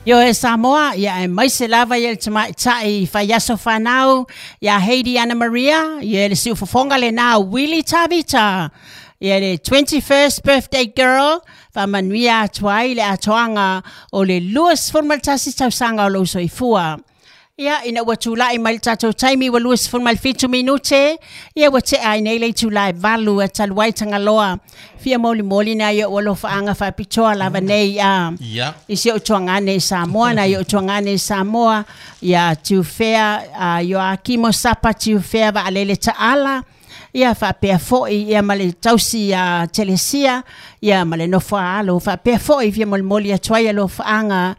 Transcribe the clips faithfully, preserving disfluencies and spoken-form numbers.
Yo e Samoa, ia e mai se lava ia le tamaitai faiaso fanau, ia Heidi Anna Maria, ia le siufofoga lena Willie Tavita, ia le twenty-first birthday girl, faamanuia atu ai le atoaga o le luasefulu ma le tasi tausaga o lou soifua. Ia, ina ua tulai mai le tatou taimi ua luasefulu ma le fitu minute, ia ua tea ai nei le itulā e valu e talu ai Tagaloa. Fia molimoli nai ou alofaaga faapitoa lava nei a Ia. I si ou tuagane i Samoa, nai ou tuagane i Samoa, ia Tiufea, a Ioakimo Sapa Tiufea Vaalele Taala, ia faapea foi ia ma le tausi ia Telesia, ia ma le nofo a alo, faapea foi fia molimoli atu ai alofaaga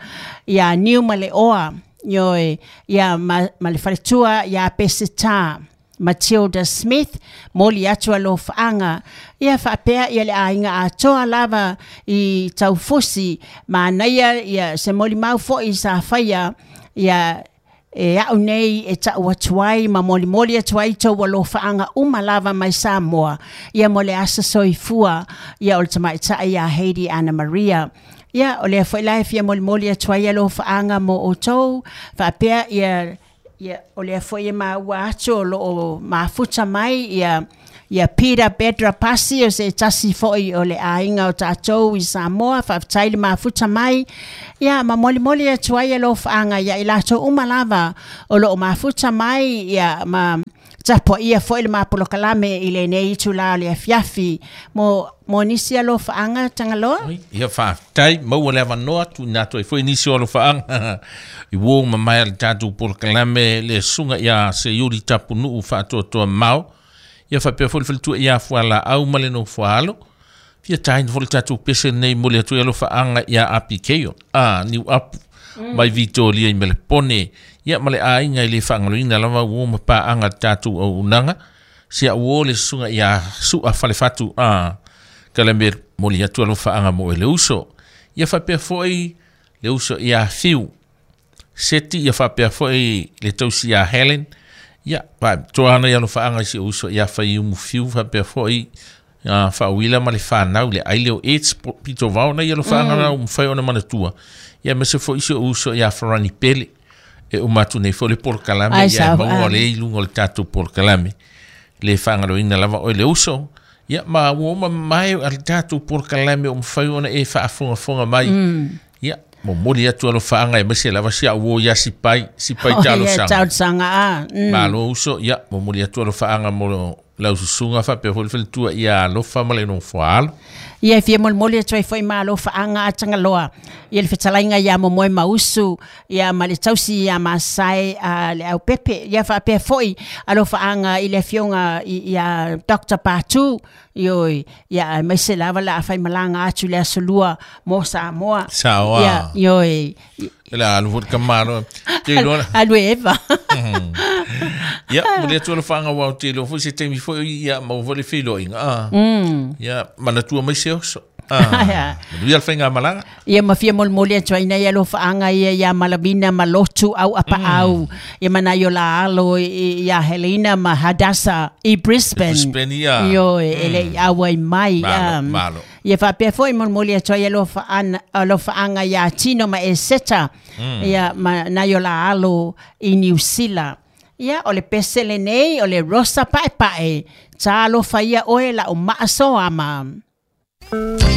ia Niu ma le Oa, ioe, ia ma, ma le faletua ia Peseta Matilda Smith, moli atu alofaaga, ia faapea ia le aiga atoa lava i Taufusi, manaia ia se molimau foi sa faia, ia e au nei e tau atu ai ma molimoli atu ai tou alofaaga uma lava mai Samoa, ia mo le aso soifua, ia o le tamaitai ia Heidi Anna Maria. Ia, o lea foi la e fia molimoli atu ai alofaaga mo outou, faapea ia, ia o lea foi e maua atu o loo mafuta mai ia ia Peter Bedra Pasi o se tasi foi o le aiga o tatou i Samoa, faafetai le mafuta mai. Ia ma molimoli atu ai alofaaga ia i latou uma lava o loo mafuta mai ia ma tapuaia foi le mapolokalame i lenei itulā o le afiafi mo mo nisi alofaaga Tagaloa. Ia faafetai maua le avanoa tuuina atu ai foi nisi o alofaaga i uo ma mai le tatou polokalame le susuga ia Seiuli Tapunuu Faatoatoa Mao. Ia faapea foi le faletua ia Fualaau ma le nofo alo. Fia taina foi le tatou pese nei mo le atu ai alofaaga ia Apikeio. A, niu apu mai Vitoria i Melepone. Ia ma le aiga i le faagaloina lava uo ma paaga le tatou auaunaga. Si au o le susuga ia Sua Falefatu a Kalame moli atu alofaaga mo e le uso. Ia faapea foi le uso ia Fiu. Seti ia faapea foi le tausi ia Helen. Ia, pa, toana ia alofaaga i si uso ia Faiumu Fiu faapea foi uh, faauila ma le whanau le aile o AIDS pito vao na ia alofaaga mm. na umawhai ona manatua. Ia mese foi si uso ia Farani Pele. E umatu nei foi le polokalame Ai, ia sau, maua ah. le i lunga o le tatou polokalame. Le whangaloina lava o le uso. Ia ma ua uma mai a le tatou polokalame o mawhai ona e whaafongafonga mai. Mm. Ia, mo moli atu alofaaga e mese lava si au o ia sipai, sipai Oh, talo ia, sanga. talosaga a. Mm. Malo uso, ia, mo moli atu alofaaga mo lau susuga faapea foi le faletua ia alofa ma le nofo alo. Ia e fia molimoli atu ai foi ma alofaaga a Tagaloa. Ia le fetalaiga ia Momoe Mausu, ia ma le tausi ia Masai a le aupepe. Ia faapea foi alofaaga i le afioga i- ia Doctor Patu, ioi, ia aemaise lava la faimalaga atu le aso lua mo Samoa. Saoa. Ia, ioi. Le alu foi le kamalo. Te iloa. Alu e Eva. Ia, mo le atu alofaaga wau te iloa foi se taimi foi ia maua foi le feiloaiga. Ah. Mm. Ia, manatua mai se oso. Ah. Ia. Manuia le faigamalaga. Ia ma fia molimoli atu ai nei alofaaga ia ia Malavina Malotu au apaau. Ia mana i o la alo i- i- ia Helena ma Hadasa i Brisbane. Brisbane, ia. Ioe, e le i auai mai. Malo, um, malo. Ia faapea foi molimoli atu ai alofaaga alofaaga ia Tino ma Eseta. Ia ma nai o la alo i New Zealand. Ia o le pese lenei o le Rosa Paepae. Talofa ia oe la o maasoama.